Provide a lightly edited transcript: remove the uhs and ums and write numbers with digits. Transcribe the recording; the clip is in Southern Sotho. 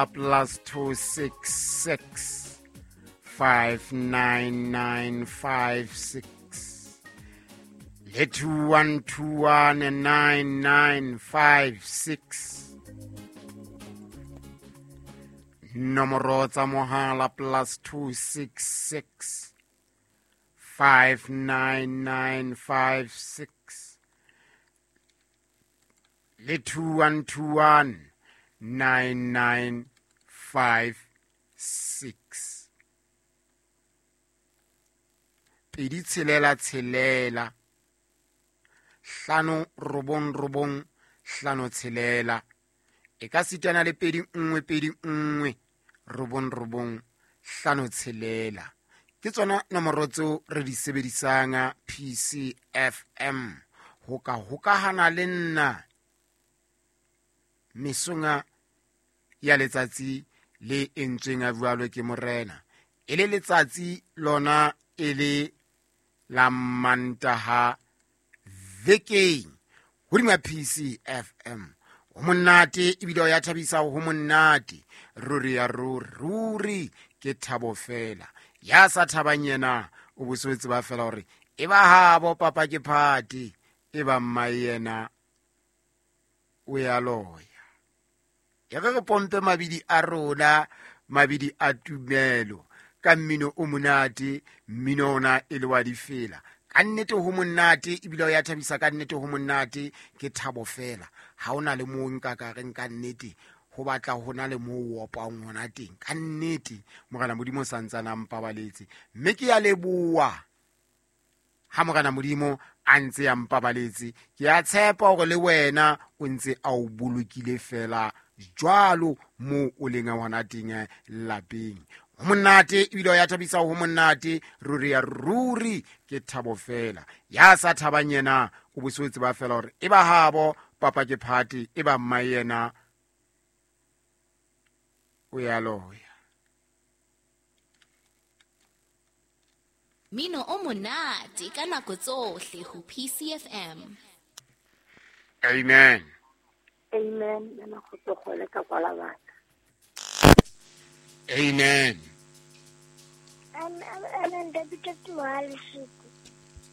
+266 59956 le 2121 9956. Nomoro tsa mohala +266 59956 le 2121 9956. 2 6 6 5 9 9 5 6. E ka sitana le 2 1 2 1 9 9 5 6. Ke tsona nomoro tseo re di sebedisang PCFM ho ka hokahana le nna mesonga ya letsatsi le entsweng a jwalo ke morena. E le letsatsi lona e le la Mantaha vekeng hodima PCFM. Ho monate ebile o ya thabisa, ho monate ruri ya ruri ruri ke thabo fela. Ya sa thabang yena o bo se tseba fela hore e ba habo papa ke party, e ba mma yena o ya loya. Ya re pompe mabidi a rona, mabidi a tumelo ka mmino o monate, mmino ona e le wa difela. Ka nnete ho monate ebile o ya thabisa, ka nnete ho monate ke thabo fela. Ha ona le moo nka ka reng ka nnete ho batla hona le moo o opang hona teng. Ka nnete Morena Modimo sa ntsana mpabaletse, mme ke ya leboha ha Morena Modimo a ntse a mpabaletse. Ke a tshepa hore le wena o ntse a o bolokile fela jwalo moo o leng hona teng lapeng. Ho monate ebile o ya thabisa, ho monate ruri ya ruri ke thabo fela. Ya sa thabang yena o bo se tseba fela hore e ba habo papa ke party, e ba mma yena o ya loya. Mino o monate ka nako tsohle ho PCFM. Amen. Amen. Nna go tsogole ka kwala batho. Amen. Amen. David Mohale.